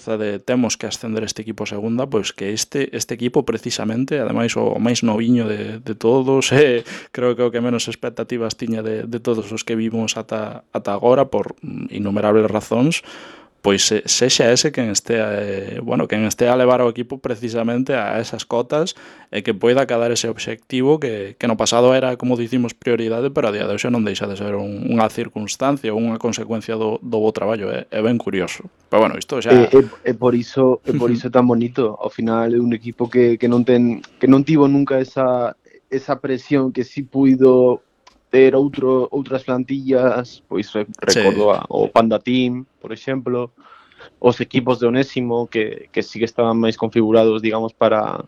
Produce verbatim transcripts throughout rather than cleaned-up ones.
forza de temos que ascender este equipo a segunda, pois que este este equipo precisamente, ademais o máis noviño de, de todos, eh, creo que o que menos expectativas tiña de, de todos os que vimos ata, ata agora por innumerables razóns, pois se, sexa ese quen estea, eh, bueno, quen estea a levar o equipo precisamente a esas cotas e que poida acadar ese obxectivo que, que no pasado era, como dicimos, prioridade, pero a día de hoxe non deixa de ser un, unha circunstancia ou unha consecuencia do, do bo traballo, é, é ben curioso. Pero bueno, isto E, xa... e, e por iso e por iso é tan bonito. Ao final é un equipo que, que non ten que non tivo nunca esa esa presión que si puido ter outro outras plantillas, pois Sí. recordo a, o Panda Team, por exemplo, os equipos de Onésimo que, que sí que estaban máis configurados, digamos, para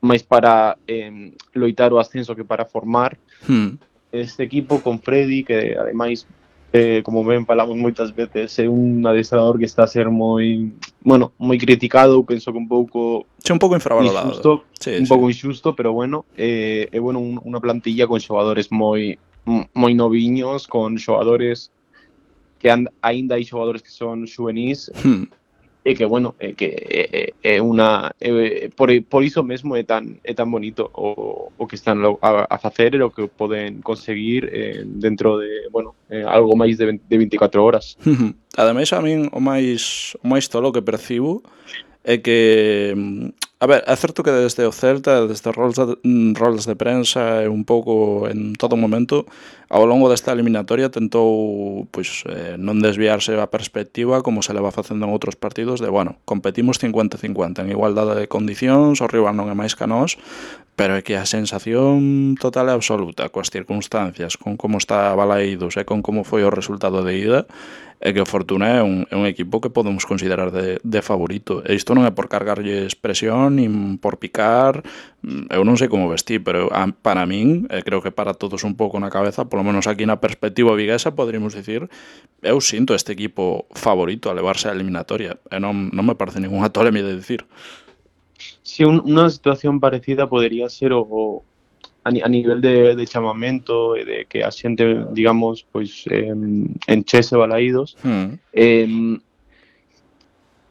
máis para eh, loitar o ascenso que para formar. Hmm. Este equipo con Freddy, que ademais, eh, como ben falamos moitas veces, é un adestrador que está a ser moi, bueno, moi criticado, penso que un pouco Sí, un pouco infravalorado. injusto, Sí, un sí. pouco injusto, pero bueno, é eh, bueno, un, unha plantilla con xogadores moi moi noviños, con xogadores que and, aínda hai xogadores que son xuvenís, Hmm. e que, bueno, é que é, é unha é, por, por iso mesmo é tan é tan bonito o, o que están a, a facer e o que poden conseguir eh, dentro de, bueno, eh, algo máis de, de veinticuatro horas. Ademais, a min o máis o máis tolo que percibo é que, a ver, é certo que desde o Celta, desde roles de, roles de prensa e un pouco en todo momento, ao longo desta eliminatoria tentou pois, eh, non desviarse a perspectiva como se leva facendo en outros partidos de, bueno, competimos cincuenta cincuenta en igualdade de condicións, o rival non é máis que nós, pero é que a sensación total e absoluta coas circunstancias, con como está Balaídos e con como foi o resultado de ida, é que o Fortuna é un, é un equipo que podemos considerar de, de favorito. E isto non é por cargarlles presión, nin por picar, eu non sei como vestir, pero a, para min, e creo que para todos un pouco na cabeza, polo menos aquí na perspectiva viguesa, poderíamos dicir, eu sinto este equipo favorito a levarse a eliminatoria, e non, non me parece ninguna tolemia de dicir. Si, un, unha situación parecida podería ser o, o a, a nivel de, de chamamento e de que a xente, digamos, pois eh, enchese Balaídos, Hmm. eh,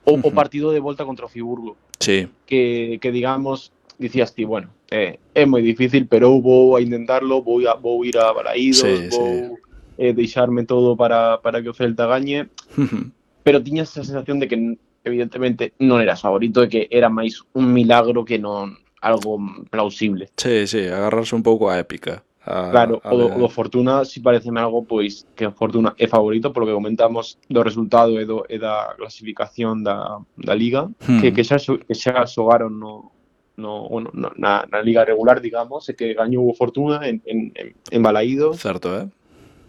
o, Uh-huh. o partido de volta contra o Friburgo, sí. que, que digamos, dicías ti, bueno, eh, é moi difícil, pero eu vou a intentarlo, vou, a, vou ir a Balaídos, sí, vou sí. eh, deixarme todo para, para que o Celta gañe, Uh-huh. pero tiñas esa sensación de que evidentemente non eras favorito, de que era máis un milagro que non algo plausible. Sí, sí, agarrarse un pouco a épica. A, Claro, a o do, de... o do Fortuna si pareceme algo pois que o Fortuna é favorito polo que comentamos do resultado e, do, e da clasificación da, da Liga, hmm. que, que, xa, que xa xogaron no, no, bueno, no, na, na Liga regular, digamos, e que gañou o Fortuna en, en, en Balaídos. Certo, eh?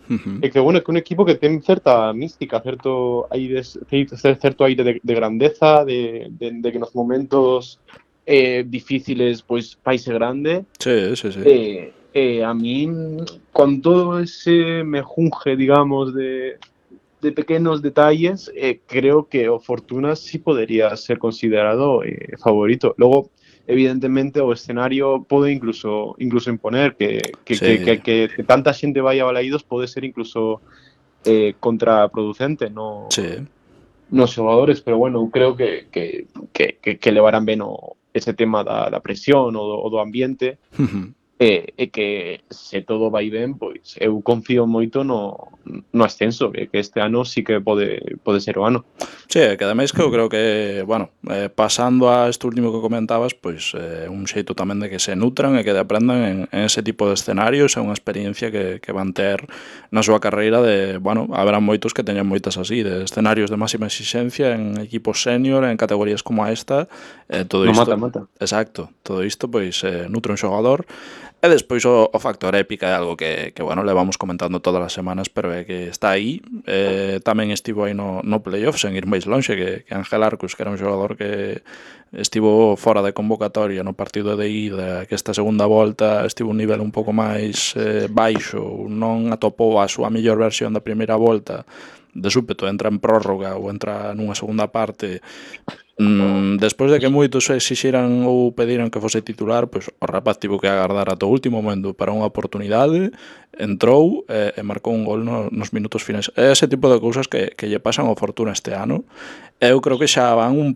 Uh-huh. E que, bueno, que un equipo que ten certa mística, certo aire, certo aire de, de grandeza, de, de, de que nos momentos eh, difíciles, pois, paise grande. Sí, sí, sí. Eh, eh, a mí, con todo ese mejunje, digamos, de, de pequenos detalles, eh, creo que o Fortuna sí podría ser considerado eh, favorito. Luego, evidentemente, o escenario pode incluso incluso imponer que, que, sí. que, que, que, que tanta xente vai a Balaídos pode ser incluso eh, contraproducente no, sí. nos xogadores, pero bueno, creo que, que, que, que, que levarán ben o, ese tema da, da presión o do, o do ambiente. Uh-huh. E, e que se todo vai ben, pois eu confío moito no, no ascenso, que, que este ano sí que pode, pode ser o ano. Sí, que ademais que eu creo que, bueno, eh, pasando a este último que comentabas, pois é eh, un xeito tamén de que se nutran e que de aprendan en, en ese tipo de escenarios, é unha experiencia que, que van ter na súa carreira de, bueno, haberán moitos que teñan moitas así, de escenarios de máxima exigencia en equipos senior, en categorías como esta, eh, todo no isto... mata, mata. Exacto, todo isto, pois, eh, nutre un xogador. E despois o, o factor épica é algo que, que, bueno, levamos comentando todas as semanas, pero é que está aí. Eh, tamén estivo aí no, no playoff, sen ir máis longe, que, que Ángel Arcus, que era un xogador que estivo fora de convocatoria no partido de ida, que esta segunda volta estivo un nivel un pouco máis eh, baixo, non atopou a súa mellor versión da primeira volta, de súpeto entra en prórroga ou entra nunha segunda parte. Mm, despois de que moitos exixiran ou pediran que fose titular, pois o rapaz tivo que agardar ata o último momento para unha oportunidade, entrou e, e marcou un gol no, nos minutos finais. É ese tipo de cousas que, que lle pasan ao Fortuna este ano. Eu creo que xa van un